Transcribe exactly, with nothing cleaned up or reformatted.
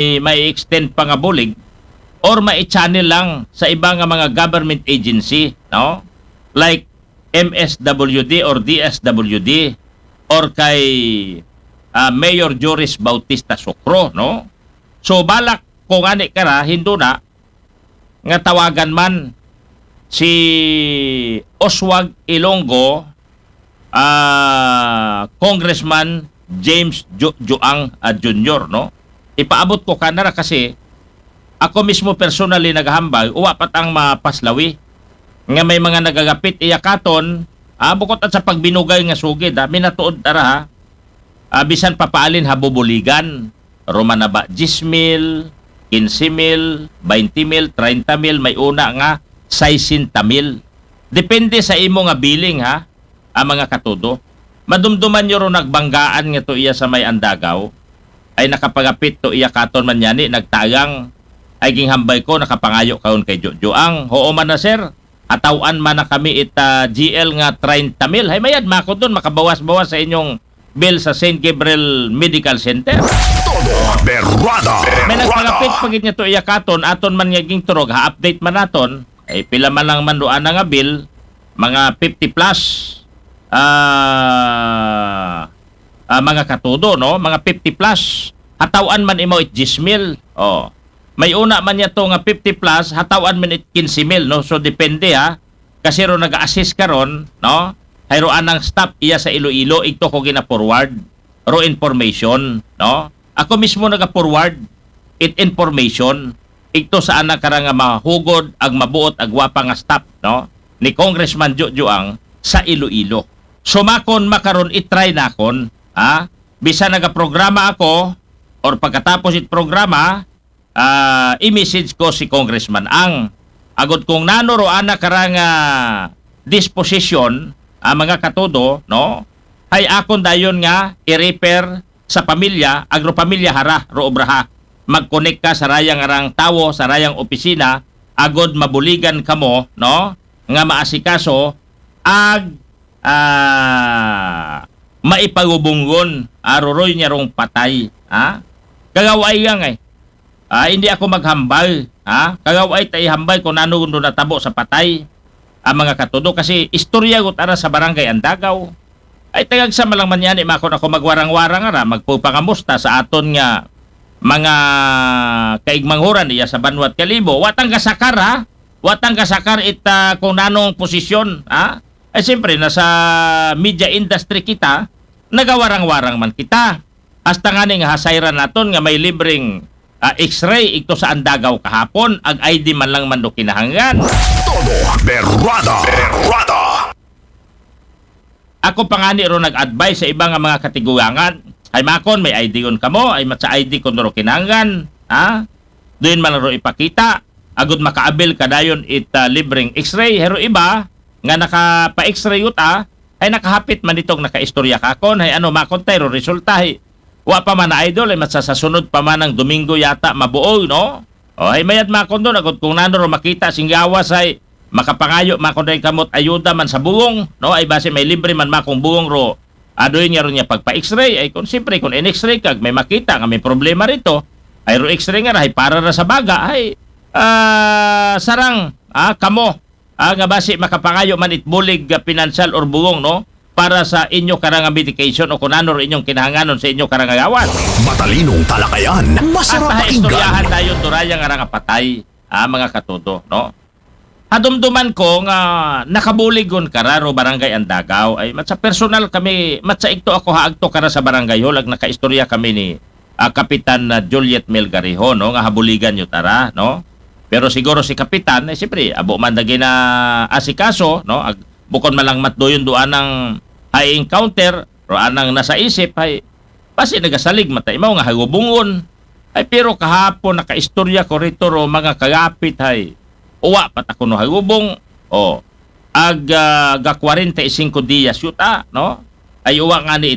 may extend pa nga bulig or may channel lang sa iba nga mga government agency, no? Like M S W D or D S W D or kay ah, Mayor Joris Bautista Sukro, no? So balak ko ngani kara, hinduna nga tawagan man si Oswald Ilonggo, ah, Congressman James Ju- Juang ah, Junior, no? Ipaabot ko kanara kasi ako mismo personally naghambal, uwa pa tang mapaslawi nga may mga nagagapit iya katon, ah, bukod at sa pagbinugay nga sugid, ah, minatuod tara ha, ah, bisan papaalin ha bubuligan, Roma na ba diyes mil, kinse mil, baynte mil, treinta mil, may una nga saysenta mil. Depende sa imo nga billing ha, ang mga katudo. Madumduman nyo ron nagbanggaan nga to iya sa may Andagaw, ay nakapagapit to iya katon man yani, nagtagang, ay ginghambay ko, nakapangayo kaon kay Jojo ang, hoo man na sir, ataw-an man na kami ita G L nga treinta mil, hay mayad mako doon, makabawas-bawas sa inyong bill sa Saint Gabriel Medical Center. Todo berrada. May Berrada. nagpagapit pagit niya to iya katon, aton man nga gingturog, ha-update man naton, ay pila man lang man doon nga bill, mga fifty plus, ah, ah, mga katudo, no? Mga fifty plus, hataw-an man imaw it diyes mil. Oh. May una man niya to nga fifty plus, hataw-an man it kinse mil, no? So depende ha. Kasi ro nag-assist karon, no? Hayro anang stop iya sa Iloilo, igto ko gina-forward ro information, no? Ako mismo naga-forward it information igto sa ana kara nga mahugod ag mabuot ag wapa nga stop, no? Ni Congressman Jojo ang sa Iloilo. So makon makaron, i-try nakon, ha? Bisan nagaprograma ako or pagkatapos it programa, ah, i-message ko si Congressman Ang. Agod kung nano ro ana kara nga disposition, ah, mga katudo, no? Hay akon dayon nga i-refer sa pamilya, agro pamilya hara, ro obraha. Mag-connect ka sa rayang arang tawo, sa rayang opisina, agod mabuligan kamo, no? Nga maasikaso, ag ah, maipagubunggon, aruroy niya rong patay. Ha? Kagaway nga eh. Ah, hindi ako maghambal. Ha? Kagaway ta ihambal kung nano gundo natabo sa patay. Ang mga katudo, kasi istorya gut ara sa barangay Andagaw. Ay tagag sa malang manyani makon ako magwarang-warang ara, magpupangamusta sa aton nga mga kaigmanghuran iya sa banwat kalibo. Watang kasakar ha? Watang kasakar ita kung nanong posisyon ha? Ay siyempre, nasa media industry kita, nagawarang-warang man kita. Hasta nga ning hasayran naton nga may libreng ah, X-ray igto sa Andagaw kahapon, ag I D man lang man do kinahanglan. Todo berrada. Berrada. Ako pa ngani ro nag-advise sa iba nga mga katigulangan. Ay makon, may I D kon kamo, ay matsa I D kon ro kinahanglan, ha? Doon man ro ipakita, agud makaabil ka dayon it ah, libreng X-ray. Hero iba nga nakapa-X-ray yuta, ay nakahapit man itong nakaistorya kakon, hay ano makon tayo resulta, hay wa pa man na idol, ay matsa sa sunod pa man ng Domingo yata mabuo, no? O, ay mayad makon doon, agud kung nano ro makita singgawas ay makapangayo makon rin kamot ayuda man sa buwong, no? Ay base may libre man makong buwong ro. Adoy niya ron niya pagpa-X-ray, ay kung siyempre kung in-X-ray kag may makita nga may problema rito, ay ro X-ray nga rahay para ra sa baga, ay ah, sarang ah, kamo ah, nga basi makapangayo man it bulig ah, pinansyal or buwong, no? Para sa inyo karang medication o kung ano ro inyong kinahanganon sa inyo karang gawas. Matalinong talakayan. Masarap At istoryahan pakinggan. Tayo durayan nga nga patay, ah, mga katudo, no? Hadumduman ko nga nakabuligon kararo barangay Andagaw ay matsa personal kami, matsa igto ako haagto kara sa barangay hall ag nakaistorya kami ni ah, Kapitan na Juliet Melgarijo, no, nga habuligan nyo tara, no? Pero siguro si Kapitan, eh, siyempre, abo man dagi na asikaso, no? Ag, bukon man lang matduyon doon ang high encounter, ro anang nasa isip, hay, basi nagasalig mata imaw nga hagubungon. Ay, pero kahapon nakaistorya ko rito ro mga kagapit, hay, uwa pat ako no hagubong, o, ag ah, ga kwarenta y singko diyas yuta, no? Ay uwa nga ni